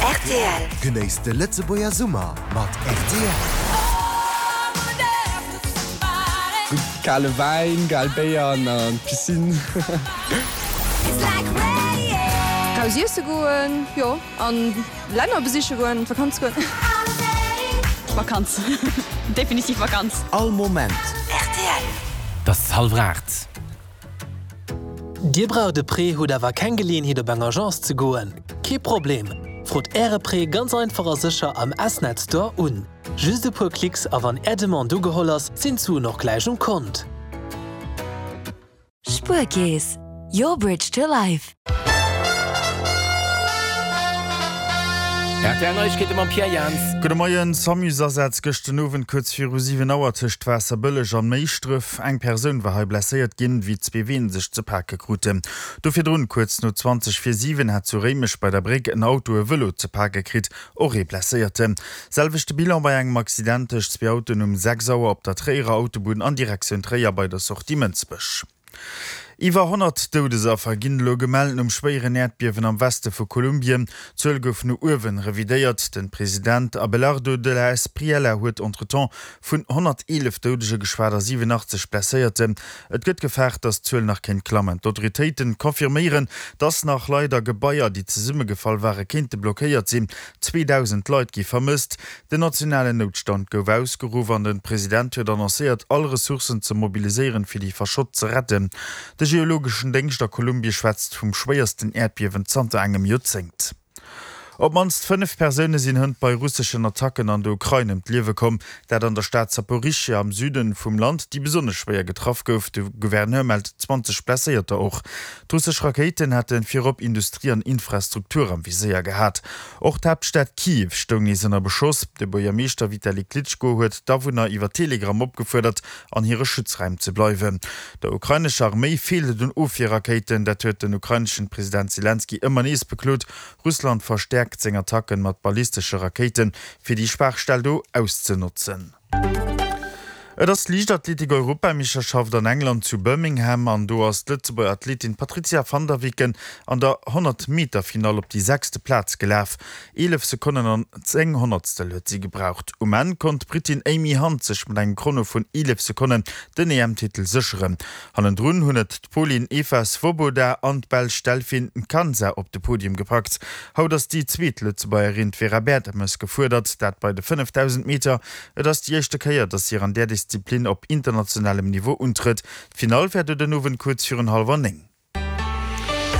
Rtl. Genéisst de Lëtzebuerger Summer mat rtl. Gutt kale Wäin, kal Béier an an d'Piscine. Raus iesse goen, jo, an Länner besiche goen, an d'Vakanz goen. Vakanz, definitiv Vakanz. All Moment. Rtl. Et ass hallwer 8. Dir braucht e Prêt, hutt awer keng Geleeënheet op eng Agence ze goen? Kee Problem! Frot Äre Prêt ganz einfach a sécher am S-Net Store un. Just e puer Klicks a wann Är Demande ugeholl ass, sinn d'Suen och gläich um Kont. Spuerkeess, your bridge to life. RTL Neiegkeete mam Pierre Jans. Gudde Moien. Samus-Asaz gëscht den Owend kuerz viru 7 Auer tëscht Waasserbëlleg an Méischdref. Eng Persoun war hei blesséiert ginn, wéi zwee Ween sech ze pake kruten. Do virdrun, kuerz no 20 vir 7, hat zu Réimech bei der Bréck en Auto e Vëlo ze pake kritt, och ee Blesséierten. Selwechte Bilan bei engem Accident tëscht zwee Autoen um 6 Auer op der Tréierer Autobunn an Direktioun Tréier bei der Sortie Mënsbech. Iwwer 100 Doudesaffer ginn elo gemellt nom schwéieren Äerdbiewen am Weste vu Kolumbien. D'Zuel gouf no uewen revidéiert. Den President Abelardo de la Espriella huet entretemps vun 111 Doudege geschwat a 87 Blesséierten. Et gëtt gefaart, datt d'Zuel nach kéint klammen. D'Autoritéiten confirméieren, datt nach Leit a Gebaier, déi zesummegefall ware kéinte blockéiert sinn. 2.000 Leit gi vermësst. Den nationalen Noutstand gouf ausgeruff an den President huet annoncéiert, all Ressourcen ze mobiliséieren, fir déi Verschott ze retten. De geologeschen Déngscht a Kolumbie schwätzt vum schwéiersten Äerdbiewen zanter engem Joerzéngt. Op d'mannst 5 Persoune sinn hënt bei russeschen Attacken an der Ukrain ëm d'Liewe komm. Dat an der Stad Saporischschja am Süden vum Land, déi besonnesch schwéier getraff gouf. De Gouverneur mellt 20 Blesséierter. Och d'russesch Rakéiten hätte virop Industrie an Infrastruktur am Viséier gehat. Och d'Haaptstad Kiew stoung nees ënner Beschoss. De Buergermeeschter Vitali Klitschko huet d'Awunner iwwer Telegram opgefuerdert, an hire Schutzräim ze bleiwen. Der ukrainescher Arméi feelt et un Ofwierrakéiten, dat huet den ukraineschen President Selenskyj ëmmer nees beklot. Russland verstäerkt seng Attacken mat ballistesche Rakéiten, fir déi Schwaachstell do auszenotzen. Et ass d'Liichtathletik-Europameeschterschaft an England zu Birmingham an do ass d'Lëtzebuerger Athletin Patrizia van der Weken an der 100 Meter Finall op déi sechste Plaz gelaf. 11 Sekonnen an 10 Honnertstel huet si gebraucht. Um Enn konnt d'Brittin Amy Hunt sech mat engem Chrono vun 11 Sekonnen den EM-Titel sécheren. Hannendrun hunn et d'Polin Eva Swoboda an d'Belsch Delphine Nkansa op de Podium gepackt. Haut ass déi zweet Lëtzebuergerin, d'Vera Bertemes, gefuerdert, dat bei de 5000 Meter. Et ass déi éischte Kéier, datt si an där Disziplin op internationalem Niveau untrëtt. D'Finall wär do den Owend kuerz virun hallwer 9.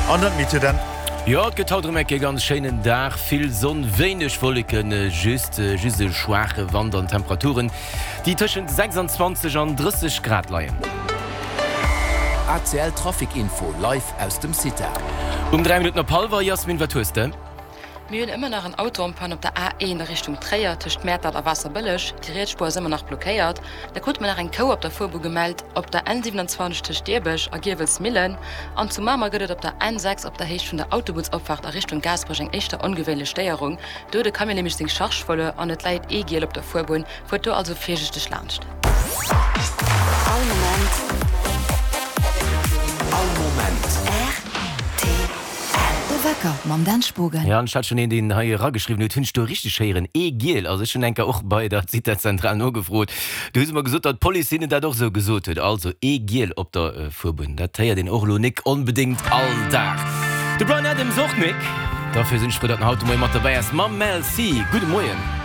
An dann d'Meteo dann. Jo, et gëtt haut erëm eng Kéier ganz schéinen Dag, vill Sonn, wéineg Wolleken, just just e schwaache Wand an Temperaturen, déi tëschent 26 an 30 Grad leien. ACL Trafic Info live aus dem CITA. Um 3 Minutten op hallwer, Jasmin, wat hues de? Mir hunn ëmmer nach en Auto en panne op der A1 a Richtung Tréier tëscht Mäertert a Waasserbëlleg. Déi riets Spuer ass ëmmer nach blockéiert. Da krute mer nach eng Kou op der Fuerbunn gemellt op der N27 tëscht Dierbech a Giewelsmillen. An zu Mamer gëtt et op der N6 op der Héicht vun der Autobunnsopfaart a Richtung Gaasperech eng éischter ongewéinlech Stéierung. Do huet e Camion nämlech seng Charge verluer an et läit ee Giel op der Fuerbunn. Fuert do also virsiichteg laanscht. All Moment. All Moment. Rtl. De Wecker mam Dan Spogen. Jo, an ech hat schon een, deen hei erageschriwwen huet, hunn ech do richteg héieren, ee Giel. Also ech hunn eng Kéier och bei der Zitazentral nogefrot, do hu se mer gesot, datt d'Police hinnen dat och esou gesot huet. Also ee Giel op der Fuerbunn, dat héiert een och elo nik onbedéngt all Dag. De Bryan Adams och nik. Dofir sinn ech frou, datt en haut de Moie mat derbäi ass mam Mel C. Gudde Moien.